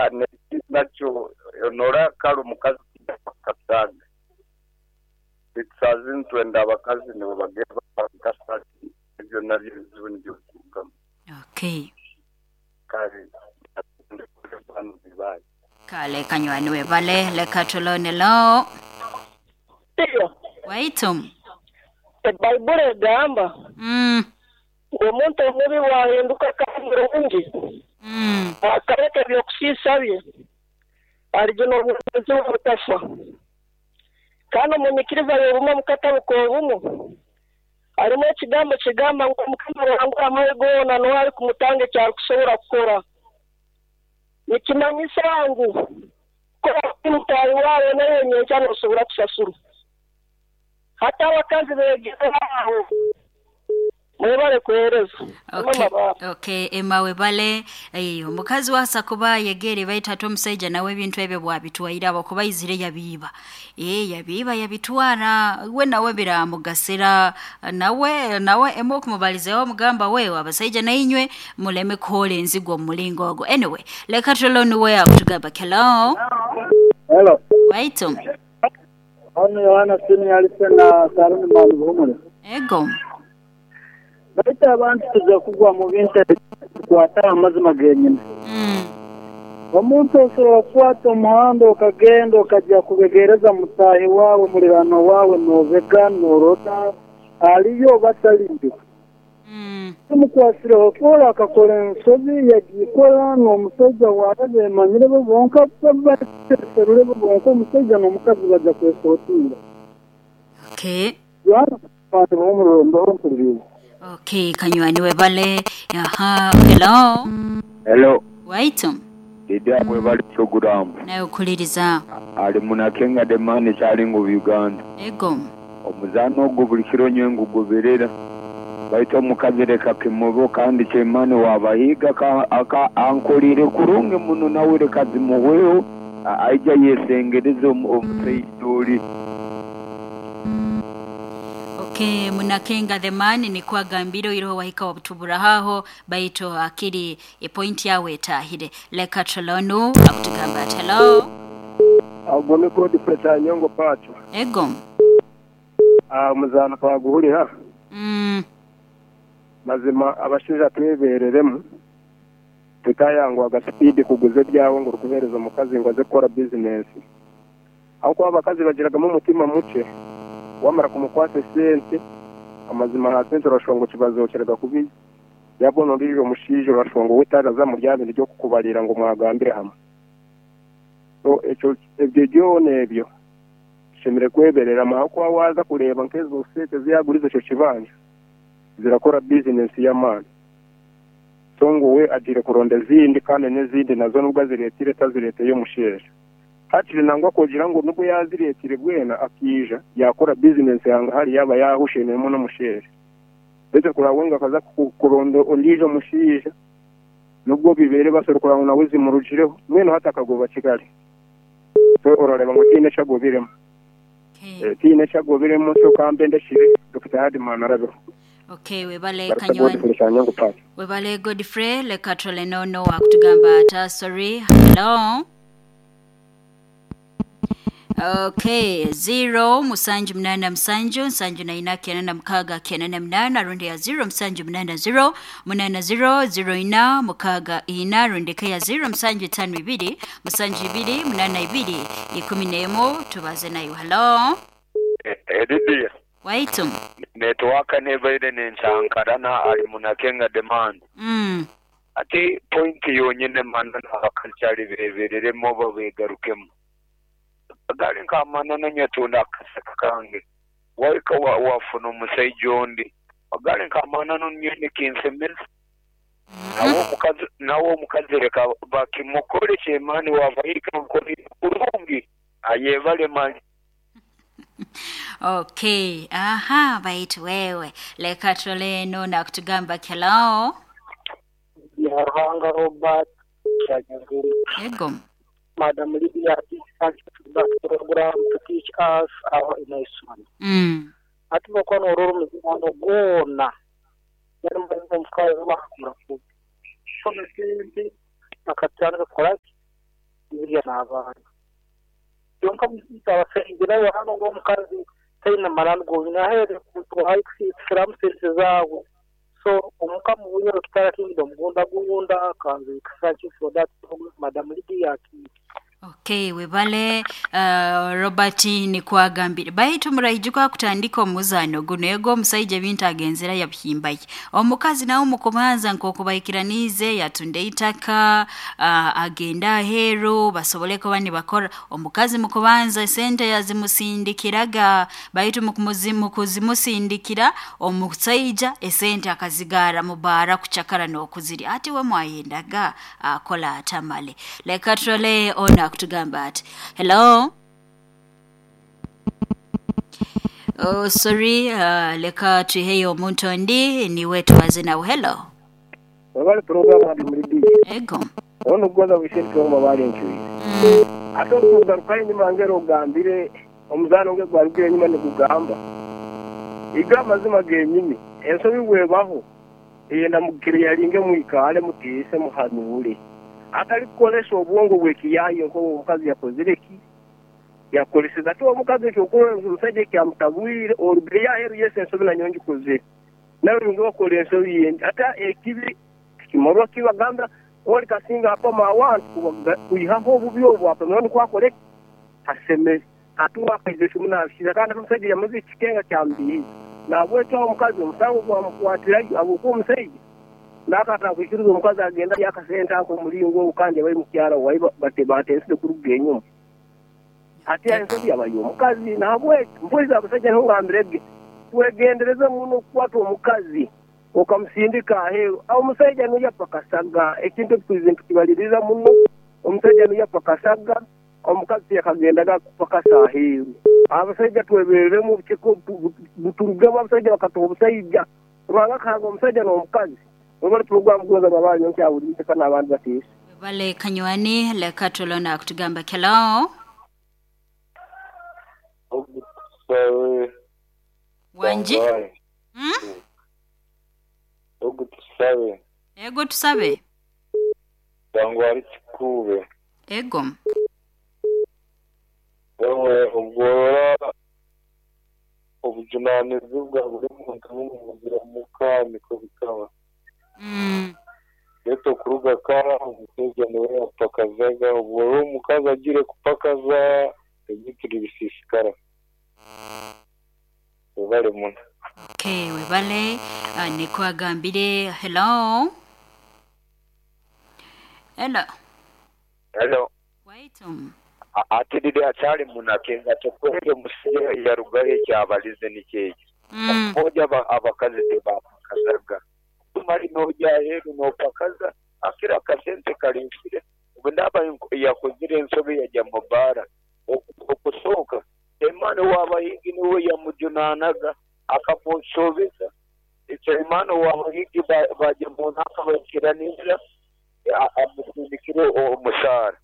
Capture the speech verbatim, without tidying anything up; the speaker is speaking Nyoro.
Kandi nakyo onora kale omukazi kasaga. Bitusazi ntwenda abakazi nibo bagenda bakasati ebyo nabyo bizibu nibyo biturugamu. Okay. Kale Kale kanywani webale leka tulone lo. Iyo. Waitum. Ebaibuli egamba. Mm. Omuntu omubi wahinduka kandi Mm. Akareka ebyokusiisa bye aligina obwomeezi obutafa. Kandi omunyikiriza y'obumu omukatabu k'obumu harimu ekigambo kigamba ngu Mukama Ruhanga amahe goona niwe arikumutanga eki arikusobora kukora. Nikimanyisa ngu kukora mutaahi waawe nawe nyenkya noosobora kusasurwa. Hati abakazi beegere aho mwebale kuheereza. Okay. Okay, Emma webale. Eh, omukazi wasa kuba yegere baita ate omusajja nawe ebintu ebyo bwabitwaire abo kuba izire yabiiba. Eh, yabiiba yabitwara we nawe biramugasira nawe nawe emo okumubalizeeho omugamba wewe abasajja nainywe muleme kuhola enzigo omu mulingo ogwo. Anyway, leka tulone we akutugamba hello. Hello. Waitum. Ono Yohana Sini alise na Saruni Mali Buhumure. Ego. Baita abantu tuza kugwa mu bintu kwata amazima genyine. Mm. Omuntu osobola kukwata omuhanda okagenda okajja kubegereza mutahi wawe mulirano wawe nobega norota aliyo bataliyo. Mm. Tumukwasireho kola akakora ensobi yagikora n'omusajja wawe bemanyire bo bonka baserure bo bonka omusajja n'omukazi bajja kwesootinga. Okay. Yohana Mali Buhumure mbaho mpuliriza. Okay, kanywani webale. Aha, hello. Hello. Waitum. Dida webale program. Nayo kuliriza. Ali munakenga demani kyalingo Uganda. Ego. Omuzano ogwo buli kiro nyengu goberera. Baita omukazi leka kimubo kandi kyemani wabahiga ka aka ankolire kurungi muno nawe leka zimuweho aija yesengereze omusajja oli. Okay, munakenga the man ni kwa gambiro iroho wahika wabutubura haho baito akiri e point yawe etahire leka tolonu akutugamba hello. Agome Godfrey Kyanyongo Pacho. Ego. Ah, muzana twaguhulira. Mm. Mazima abashaija twebereremu tutayangwaga speed kuguza ebyawe ngo rukuhereza omukazi ngo aze kukora business. Aho kuba abakazi bagiragamu omutima muke wamara kumukwasa esente amazima ha sente urashonga kibazokeraga kubi yabona uriyo mushijo urashonga wetaraza mu ryabindi ryo kukubarira ngo mwagambire hamwe. So ekyo ebyo byona ebyo shemire kweberera aho kuba waza kureba nkezo sente ziyaguriza icyo kibanja zirakora business y'amani. So ngo we agire kuronda izindi kandi n'izindi nazo nubwo aziretire tazireteye umusheje. Hakiri nangwa kugira ngo nubwo yaziretire bwena akija yakora business yanga hari yaba yahushenemo n'umusheje. Ndetse kurawenga akaza kuronda ondijo mushije nubwo bibere basorokora ngo nawe zimurujireho mwene hatakagoba Kigali. So orareba ngo tine cyagobiremo. Okay. Tine cyagobiremo so kambe ndashire Doctor Hadman arabeho. Okay, webale kanywani. Webale Godfrey leka tole nono akutugamba ata sorry. Hello. Okay, zero musanju mnana msanju nsanju na ina kenana mkaga kenana mnana rundi ya zero msanju mnana zero munana zero zero ina mukaga ina rundi kaya zero msanju tano ibiri msanju ibiri munana ibiri ikumi nemo tubaze nayo. Hello. Edidia. Waitum. Network nebaire nensankarana ali munakenga demand. Mm. Ati point yonyine manana abakalchali bebereremo babegarukemo. Gali nka manana nyatunda akasaka kange waika wa wafuna omusajja ondi gali nka manana nyene kinsemeza nawo omukazi nawo omukazi leka bakimukole kyemani wavahika mukole kurungi ayebale mali. Okay, aha baitu wewe leka toleno na kutugamba hello. Ruhanga Robert Kyanyongo. Ego. Madam Lydia, thank you for that program to teach us our nation. Mm. Ati bakono ororo muzano gona. Yari mbazo mkazi bakura ku. Shona sente akatana kora n'abaana kyonka abasengira hano ng'omukazi taina marani gonyine ahere kutwaye kusiramu sente zawe so omuka mu Bunyoro Kitara Kingdom gunda gunda kanze thank you for that Madam Lydia. Okay, webale uh, Robert nikwagambire baitu murayijuka kutandika omuzano guno ego omusajja ebintu agenzera yabihimbaye omukazi nawe mukubanza nkokubaikiranize yatunda itaka uh, agenda aheru basobole kuba nibakora omukazi mukubanza sente yazimusindikiraga baitu mukumuzimu kuzimusindikira omusajja esente akazigara mubara kuchakara n'okuziri ati we mwayendaga akola atamale leka turole ona kutugamba ati hello. Oh, sorry, uh, leka tuheyo omuntu ondi niwe tubaze nawe. Hello. Wabali program adi mulidi ego ono gwaza wishenti wa bali nchuyi ate okugaruka enyuma ngero ogambire omuzano nge gwarugire enyuma nikugamba iga amazima genyini ensobi bwebaho eyenda mukire yalinge mwikale mutiise muhanure atali kukolesha obwongo bwekiyayo nko omukazi yakozire ki yakoleseza ate omukazi ekyokukola omusajja ekyamutabwire orugire yaheru yese ensobi nanyo ngikozire nawe nge wakola ensobi yendi ate ekibi kimorwa kibagamba oli kasinga apama awantu kuyihaho obubi obwo apama nikwakole asemere ate wakaize kimunabishiza kandi omusajja yamaze ekikenga kyambihiza nabwekyo omukazi omusango gwamukwatirayo abukuba omusajja nakata kwikiriza omukazi agenda yakasente ako omulingo kandi bali mukyala wayi batensire kuruga enyuma ate ensobi yabayo omukazi nabwekyo mpuliza abasajja ntungambirege twegendereze muno okukwata omukazi okamusindika aheru awo omusajja nuyapakasaga ekintu ekikuize ntukibaliriza muno omusajja nuyapakasaga omukazi yakagendaga kupakasa aheru abasajja twebereremu buturugemu abasajja bakatoha obusajja rwanga kahanga omusajja n'omukazi webale program goza babanyo nkyawulire kana abantu batiisa webale kanywani leka tulona kutugamba hello. Wanji hmm? Ogu tusabe ego tusabe bangwari kikube ego wewe ogora obujunanizibwa buri muntu bumugira muka niko bikaba mm. Leto kuruga kara omusajja niwe yapakazaga ubwo rero omukazi agire kupakaza ebintu bisisikara webale muno. Okay, webale uh, nikwagambire hello. Hello. Hello. Waitum. Ati dide achali munakenga tokwere musiye yarugaye kyabalize nikeki mm. Moja abakazi tebapakazaga tumali noja heru nopakaza akira akasente kalimfire ubundaba yakozire ensobi yajya mubara okusoka emana w'abayigi niwe yamujunanaga akamusobeza icyo imana w'abayigi bajya mu ntaka bakiraniza amusindikire omushahara.